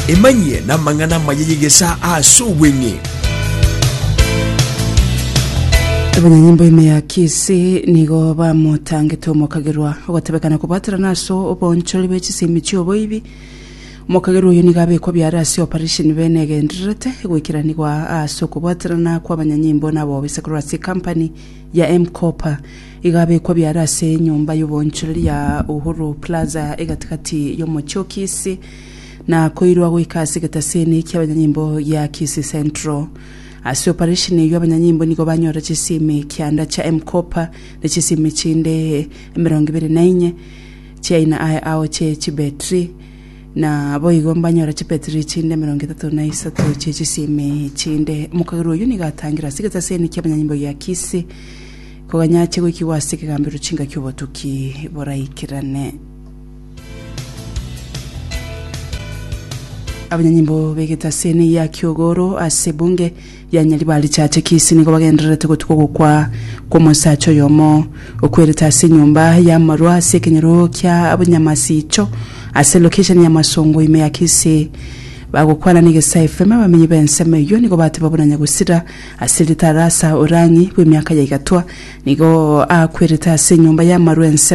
Emanyie namang'ana amaya y'egesaa ase obweng'e. Abanyanyimbo ime ya Kisii nigo bamotangete omokagerwa ogotebekana kobwaterana ase oboonchori bwe chisemi chi'oboibi. Omokagerwa oyio nigo abekwa biare ase operation bene egendererete goikeranigwa ase okobwaterana kw'abanyanyimbo na abobisa korwa ase ekampani ya M-Kopa. Igo abekwa biare ase enyomba y'oboonchoreri ya Uhuru Plaza egatigati y'omochie o Kisii na koirwa goika ase egetaseni ki'abanyanyimbo gia Kisii Central. Ase operation eyio abanyanyimbo nigo banyora chisimi kianda chia M-Kopa ne chisimi chinde 24 chiaina aye ao chie chibetri na boigo mbanyora chibetri chinde 33 chie chisimi chinde. Omokagerwa oyio nigo atangire ase egetaseni ki'abanyanyimbo gia Kisii koganya ache goikigwa ase ekegambero chingaki obotuki boraikerane. Abanyanyimbo b'egetaseni ya Kiogoro ase ebunge ya Nyaribari Chache Kisii nigo bagendererete gotuka ogokwa kw'omosacha oyomo okwerete ase enyomba y'amarwa ase ekenyoro kia Bunyamasicho ase location ya Masongo ime ya Kisii. Bagokwana n'Egesae FM abamenyi b'ensemo eyio nigo bateba buna Nyagusira ase ritarasa Orangi bw'emiaka ya igatwa nigo akwerete ase enyomba y'amarwa ensemo.